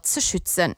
Ze schützen.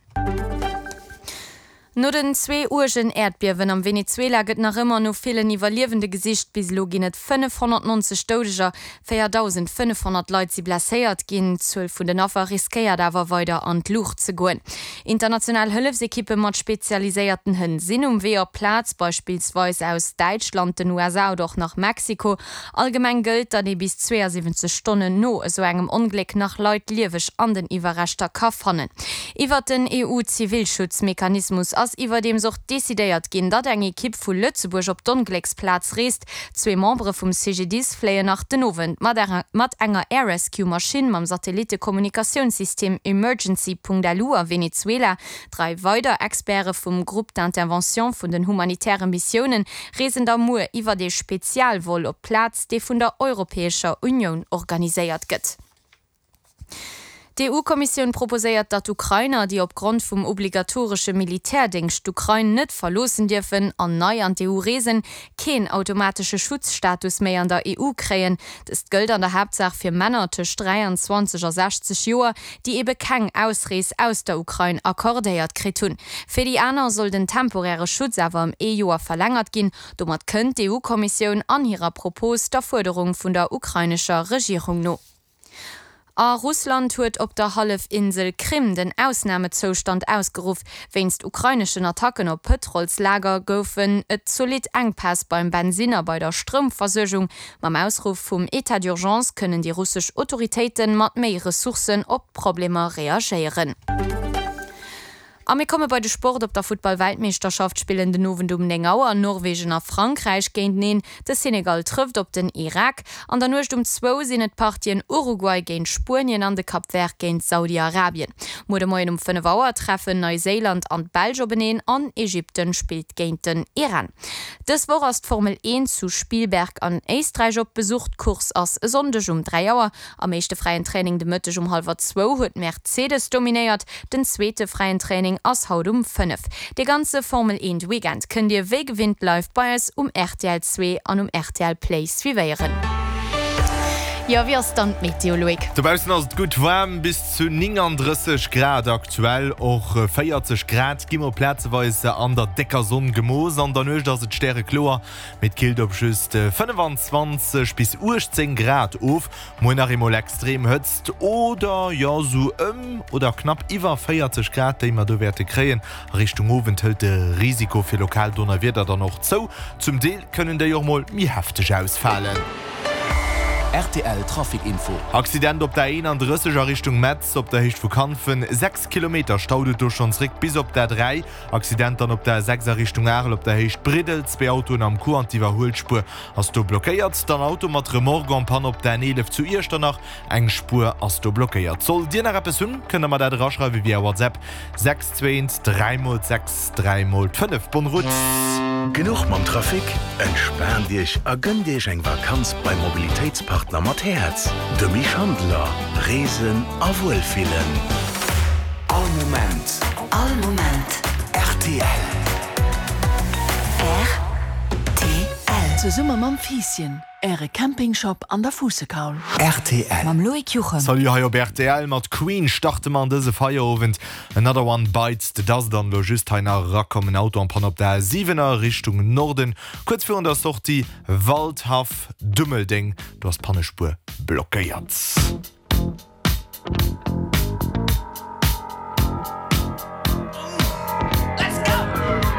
No den zwee uergen Äerdbiewen am Venezuela gëtt nach ëmmer no villen Iwwerliewende gesicht. Bis elo ginn et 590 Doudeger, 4.500 Leit si blesséiert ginn. D'Zuel vun den Affer riskéiert awer weider an d'Luucht ze goen. International Hëllefsekippe mat spezialiséierten Hënn sinn um Wee op d'Plaz, beispillsweis aus Däitschland, den USA oder och nach Mexiko. Allgemeng gëllt, datt ee bis 72 Stonnen no esou engem Ongléck nach Leit lieweg an den Iwwerreschter ka fannen. Iwwert den EU-Zivilschutzmechanismus ass iwwerdeems och decidéiert ginn, datt eng Ekipp vu Lëtzebuerg op d'Onglécksplaz reest. Zwee Membere vum CGDIS fléien nach den Owend mat enger Air Rescue Maschinn mam Satellittekommunikatiounssystem Emergency.lu a Venezuela. Drai weider Experte vum Groupe d'intervention vun den humanitäre Missiounen reesen da muer iwwert ee Spezialvol op d'Plaz, dee vun der Europäescher Unioun organiséiert gëtt. D'EU-Kommissioun proposéiert, datt Ukrainer, déi opgrond vum obligatoresche Militärdéngscht d'Ukrain net verloossen dierfen an nei an d'EU reesen, keen automatesche Schutzstatus méi an der EU kréien. Dëst gëllt an der Haaptsaach fir Männer tëscht 23 a 60 Joer, déi ebe keng Ausrees aus der Ukrain accordéiert kritt hunn. Fir déi aner soll den temporäre Schutz awer ëm ee Joer verlängert ginn. Domat kënnt d'EU-Kommissioun an hirer Propos der Fuerderung vun der ukrainescher Regierung no. A Russland huet op der Hallefinsel Krim den Ausnamezoustand ausgeruff. Wéinst ukraineschen Attacken op Pëtrolslager goufen et zolidd Enkpäss beim Bensinn a bei der Stroumversuergung. Mam Ausruff vum Etat d'urgence kënnen déi russesch Autoritéite mat méi Ressourcen op d'Problemer reagéieren. A mir komme bei de Sport, Op der Futtball-Weltmeeschterschaft spillen den Owend um 9 Auer Norwegen a Frankräich géinteneen. De Senegal trëfft op den Irak. An der Nuecht um zwou sinn et d'Partien Uruguay géint Spuenien an de Cap Vert géint Saudi-Arabien. Muer de Moien um 5 Auer treffen Neiséiland an d'Belsch openeen an Ägypten spillt géint den Iran. Dës Woch ass d'Formel 1 zu Spielberg an Éisträich op Besuch. D'Course ass e Sonndeg um 3 Auer. Am éischte fräien Training de Mëtteg um hallwer zwou huet Mercedes dominéiert. Den zweete fräien Training ass haut um 5. Dee ganze Formel 1 Weekend kënnt dir wéi gewinnt live bei eis um rtl 2 an um rtl Play suivéieren. Jo, wéi ass dann d'Meteo, Loïc? Dobaussen ass et gutt waarm, bis zu 39 Grad aktuell, och 40 Grad gi mol plazeweis an der décker Sonn gemooss. An der Nuecht ass et stärekloer, Mee et killt op just 25 bis 18 Grad of. Muer nach eemol extrem Hëtzt oder jo sou ëm oder knapp iwwer 40 Grad, déi mer do wäerte kréien. A Richtung Owend hëlt de Risiko fir lokal Donnerwieder dann och zou. Zum Deel kënnen déi och mol méi hefteg ausfalen. Rtl Trafic Info. Accident op der 31 a Richtung Metz op der Héicht vu Kanfen, 6 Kilometer staut et do schonn zréck bis op d'A3. Accident dann op der A6 a Richtung Arel op der Héicht Briddel, zwee Autoen am Coup an d'Iwwerhuelspuer ass do blockéiert. Dann Auto mat Remorque en panne op der N11 zu Iechternach, eng Spuer ass do blockéiert. Sollt Dir nach eppes hunn, kënnt der mer dat eraschreiwe via WhatsApp 6 2 1 3 mol 6 3 mol 5. Bonne route! Genuch mam Trafic? Entspaant Iech a gënnt Iech eng Vakanz beim Mobilitéitspartner mat Häerz, de Mich Handler. Reesen a Wuelfillen. All Moment. All Moment. Rtl. Rtl. Zesumme mam Fiisschen, Äre Campingshop an der Fuussekaul. Rtl. Mam Loïc Juchem. Salut hei op rtl. Mat Queen starte mer an dëse Feierowend. Another One Bites the Dust an elo just hei nach erakomm en Auto en panne op der A7 a Richtung Norden, kuerz virun der Sortie Waldhaff Dummeldeng. Do ass d'Pannespuer blockéiert.